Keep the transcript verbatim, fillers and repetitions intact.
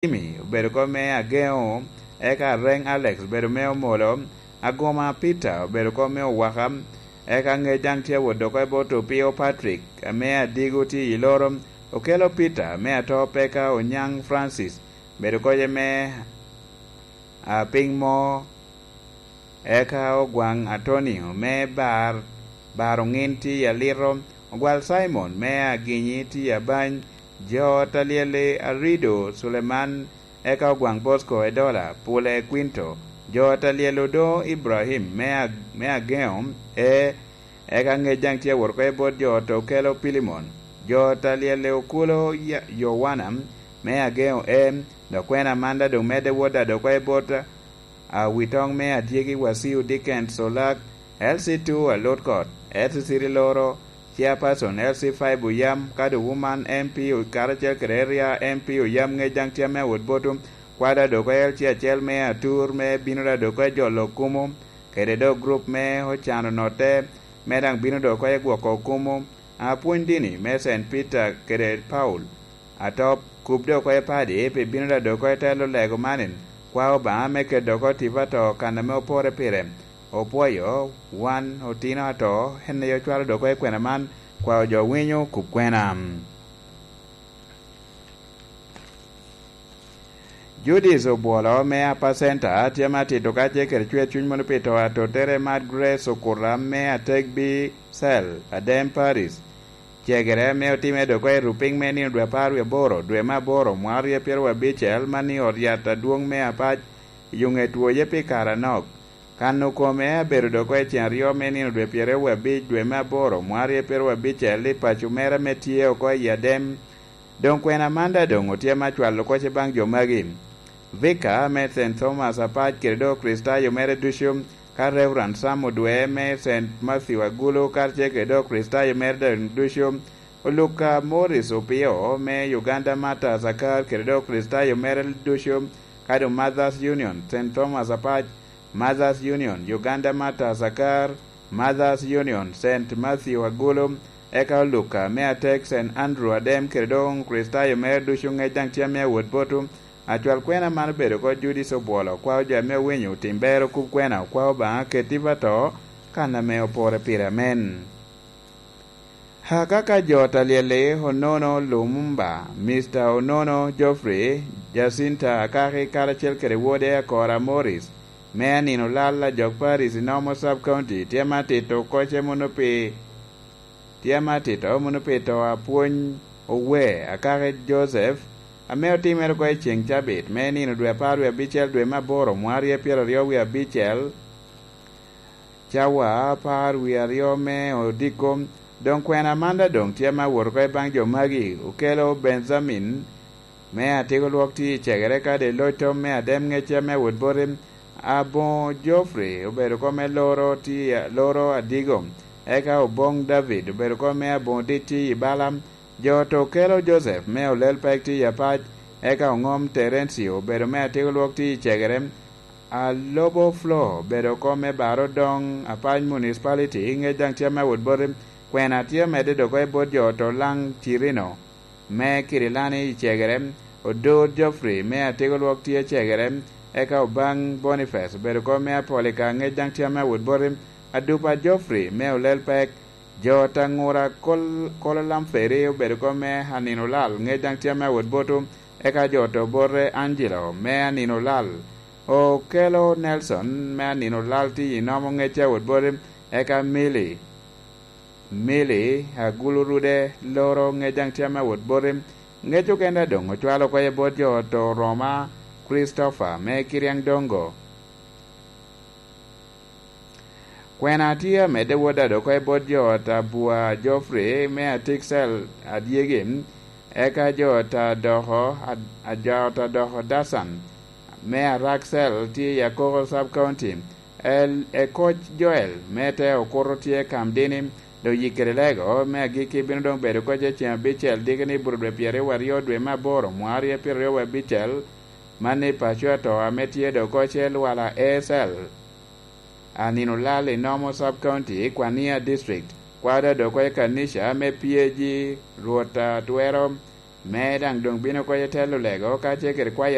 Jimmy obedo kop me Ageŋo, eka Areŋ Alex obedo me Omolo, Aguma Peter obedo kop me Owaka, eka Ŋec daŋ tye awot dok oko i bot Opio Patrick, ame Adigo tye i Loro, Okello Peter me Atop, eka Onyaŋ Francis obedo kop me Apiŋ Mo, eka Ogwaŋ Antonio me Bar, Bar Oŋin tye i Alito, Ogwal Cimon me Aginyi tye i Abany, jo ot a lyel-li Arido Culeman, eka Ogwaŋ Bosco Edola, Pule Kwinto, jo ot a lyel Odoŋo Ibrahim me Ag-, me Ageŋo, e, eka Ŋec daŋ tye awot oko i bot jo ot Okello Pilimon, jo ot a lyel Okulo Ya-, Yowana me Ageŋo, e, dok kwena man daŋ doŋ medde wot daŋ dok oko i bot Awitoŋ me Adyegi Wasiu Dickens Olak, L C two Alutkot, L C three Loro, Chairperson L C five Oyam, kadi Woman M P o-, karacel kede Area M P Oyam Ŋec daŋ tye ame awot boto, kwada dok L C acel me Atur me bino da dok e jolo kumo, kede dok grup me Ocano Notte, me daŋ bino dok e gwoko kumo, apwony dini me Saint Peter kede Paul, Atop, kub dok oko i padi, pi bino da dok oko i telo lego man, kwa Obaŋa me keto dok oko tipo ato kan ame opore pire. Opwoyo, wan, otino ato, en aye ocwalo dok oko i kwena man, kwa ojo winyo kub kwena. Judith Obwolo me Upper Center tye ma tito kacel kede cwer cuny mono pi to a tottere Mad Grace Okuta me Ategbi Cell, Adem Paris. Cegere ame otimme dok oko i Rupiny me nino dwe apar wie aboro, dwe me aboro, mwaka aryo pyeraryo abicel, man i ot yat adwoŋ me Apac, i Oŋet Woye pi kare anok. Kan okome abedo dok oko i cen aryo me nino dwe pyeraryo wie abic, dwe me aboro, mwaka aryo pyeraryo abicel, i paco mere ame tye oko i Adem. Doŋ kwena man daŋ doŋ otye me acwalo kwoc baŋ jo magi. Vicar me Saint Thomas Apac kede dok Kricitayo mere ducu, ka Reverend Sam Odwe me Saint Matthew Agulu karacel kede dok Kricitayo mere daŋ ducu, Oluka Morris Opio me Uganda Martyrs Akar kede dok Kricitayo mere ducu, ka doŋ Mothers Union, Saint Thomas Apac, Mothers Union, Uganda Martyrs Akar, Mothers Union, Saint Matthew Agulu, eka Oluka me Atek, Saint Andrew Adem, kede doŋ Kricitayo mere ducu Ŋec daŋ tye ame awot boto. Acwal kwena man obedo oko Judith Obwolo, kwao jo ame owinyo otim ber okub kwena, okwao Obaŋa keti pa to, kan ame opore pire. Amen. Akaka jo ot a lyel-li, Onono Lumumba, Mister Onono Geoffrey, Jacinta Akaki karacel kede wode Akora Morris, me anino lal ajok Paris i Nomo Sub County, tye ma tito kocce mono pi, tye ma tito mono pi to apwony Owe Akaki Joseph, ame otimere oko i ceŋ cabit me nino dwe apar wie abicel dwe me aboro mwaka aryo pyeraryo wie abicel, cawa apar wie aryo me odiko. Doŋ kwena man daŋ doŋ tye ma wot oko i baŋ jo magi, Okelo Benjamin me Atiko Lwok tye i cegere kadi loc tom me Adem Ŋecce me wot boti, aboŋo Geoffrey obedo oko me loro tye, loro Adigo, eka Oboŋ David obedo oko me aboŋo dit tye i Bala, jo to Okelo Joseph me Olel Pek tye i Apac, eka Oŋom Terencio obedo me Atiko Lwok tye i cegere, Alobo Flo obedo oko me Baro Doŋ Apac Municipality, Ŋec daŋ tye me wot boti, kwena tye omedde dok oko i bot jo to Laŋ Cirino me Kirilani i cegere, Odor Geoffrey me Atiko Lwok tye cegere, eka Obaŋ Boniface obedo oko me Apolika, Ŋec daŋ tye me wot boti, Adupa Geoffrey me Olel Pek, jo ot Aŋura Kol-, Kolo Lamferi obedo oko me Anino Lal, Ŋec daŋ tye me wot boto, eka jo to bote Angelo me Anino Lal, Okelo Nelson me Anino Lal tye i Nomo Ŋecce awot boti, eka Milly, Milly Agulu Rude loro Ŋec daŋ tye me wot boti, Ŋec okene doŋ ocwalo oko i bot jo to Roma Christopher me Kiriaŋ Dongo. Kwena tye amedde wot adoko i bot jo ot Abua Geoffrey me Atiksel Adyegi, eka jo ot adoko, ad-, ajo ot adoko Dasan me Araksel tye i Akoko Sub County. El-, Ekoc Joel me te Okuto tye Kamdini, dok Yikere Lego me agikki bino doŋ bedo koc i ceŋ abicel diki ni buto dwe pyeraryo aryo dwe me aboro mwaka aryo pyeraryo abicel, man i paco ato ame tye dok koc i Lwala A S L. Anino Lal i Nomo Sub County, Kwania District, kwada dok oko i kanica me P A G, Rwot a twero Me daŋ doŋ bino oko i telo lego ka tye kede kwayo